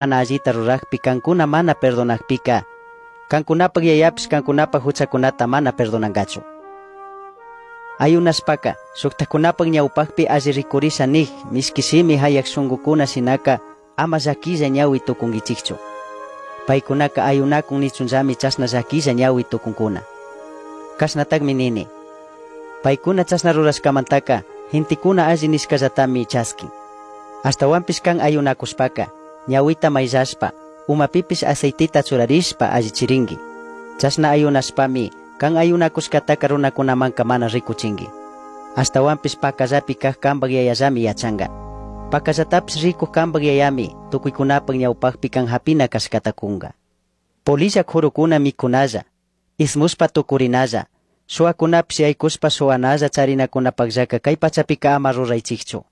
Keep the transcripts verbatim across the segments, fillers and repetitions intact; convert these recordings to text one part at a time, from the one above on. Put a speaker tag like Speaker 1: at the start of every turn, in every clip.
Speaker 1: Mana allita rurajpi cancuna mana perdonajpica, cancunapaj yayapish cancunapaj juchacunata mana perdonangachu. Ayunashpaca, shujtajcunapaj ñaupajpi alli ricurisha nij mishqui shimi jayaj shungucuna shinaca ama llaquilla ñahui tucunguichijchu. Paicunaca ayunacun nichunllami chashna llaquilla ñahui tucuncuna. Cashnatajmi nini. Paicuna chashna rurashcamantaca gentecuna alli nishcallatami chasquin. Ashtahuanpish can ayunacushpaca, ñahuita maillashpa, umapipish aceitita churarishpa allichiringui. Chashna ayunashpami can ayunacushcataca runacunamanca mana ricuchingui. Ashtahuanpish pacallapi caj cambaj yayallami yachanga. Pacallatapish ricuj cambaj yayami tucuicunapaj ñaupajpi can japina cashcata cunga. Polilla jurucuna micunalla, ismushpa tucurinalla, shuacunapish yaicushpa shuanalla charinacunapajllaca cai pachapica ama ruraichijchu.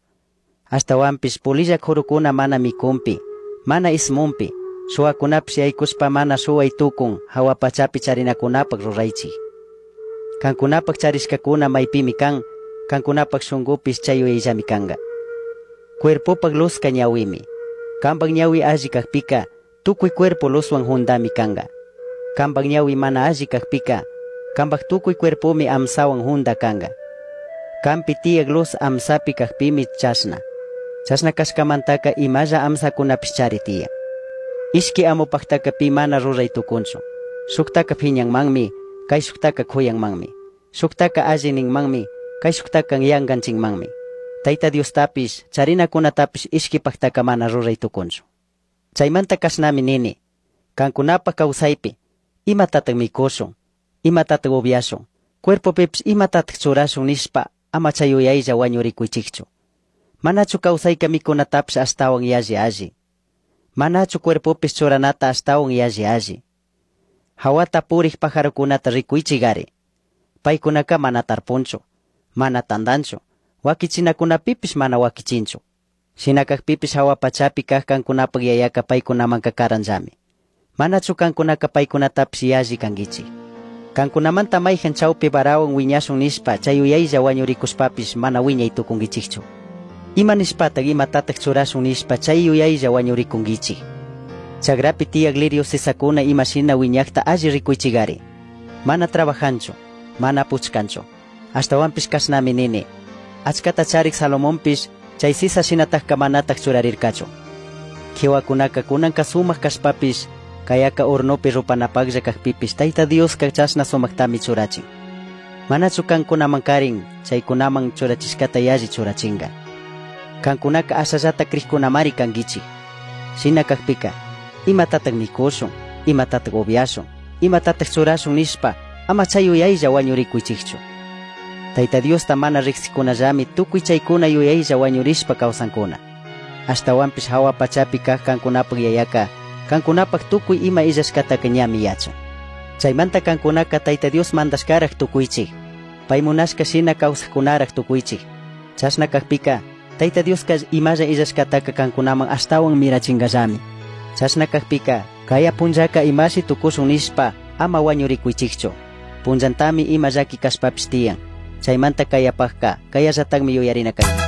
Speaker 1: Ashtahuanpish polilla jurucuna mana micunpi, mana ismunpi, shuacunapish yaicushpa mana shuai tucun jahua pachapi charinacunapaj ruraichij. Cancunapaj charishcacuna maipimi can, cancunapaj shungupish chay yuyayllami canga. Cuerpopaj luzca ñahuimi. Cambaj ñahui alli cajpica, tucui cuerpo luzhuan jundami canga. Cambaj ñahui mana alli cajpica, cambaj tucui cuerpomi amsahuan junda canga. Canpi tiyaj luz amsapi cajpimi chashna. Chashna cashcamantaca imalla amsacunapish chari tiyan. Ishqui amopajtaca pi mana rurai tucunchu. Shujtaca phiñanmanmi, caishujtaca cuyanmanmi. Shujtaca alli ninmanmi, caishujtaca yanganchinmanmi. Taita Diostapish, charinacunatapish ishquipajtaca mana rurai tucunchu. Chaimanta cashnami nini, cancunapaj causaipi, imatataj micushun, imatataj ubyashun, cuerpopipish imatataj churashun nishpa ama chay yuyaylla huañuricuichijchu. Manachu causaica micunatapish ashtahuan yalli alli. Manachu cuerpopish churanata ashtahuan yalli alli. Jahuata purij pajarocunata ricuichigari. Paicunaca mana tarpunchu, mana tandanchu, huaquichinacunapipish mana huaquichinchu. Shina cajpipish jahua pachapi caj cancunapaj yayaca paicunamanca caranllami. Manachu cancunaca paicunatapish yalli canguichij. Cancunamanta maijan chaupi varahuan huiñashun nishpa chay yuyaylla huañuricushpapish mana huiñai tucunguichijchu. Ima nishpataj imatataj churashun nishpa chay yuyaylla huañuricunguichij. Chagrapi tiyaj lirio sisacuna ima shina huiñajta alli ricuichigari. Mana trabajanchu, mana puchcanchu. Ashtahuanpish cashnami nini. Achcata charik Salomonpish chay sisa shinatajca manataj churarircachu. Quihuacunaca cunanca sumaj cashpapish, cayaca hornopi rupanapajlla cajpipish Taita Diosca chashna sumajtami churachin. Manachu cancunaman karin chaycunaman churachishcata yalli churachinga. Cancunaca ashallata crijcunamari canguichij. Shina cajpica, imatataj micushun, imatataj ubyashun, imatataj churashun nishpa, ama chay yuyaylla huañuricuichijchu. Taita Diosta mana rijsicunallami tucui chaicuna yuyaylla huañurishpa causancuna. Ashtahuanpish jahua pachapi caj cancunapaj yayaca, cancunapaj tucui ima illashcataca ñami yachan. Chaimanta cancunaca Taita Dios mandashcaraj tucuichij. Pai munashca shina causajcunaraj tucuichij. Chashna cajpica, Taita Diosca imalla illashcataca cancunaman ashtahuan mirachingallami. Chashna cajpica, caya punllaca imashi tucushun nishpa ama huañuricuichijchu. Punllantami ima llaqui cashpapish tiyan. Chaimanta cayapajca, cayallatajmi yuyarina canguichij.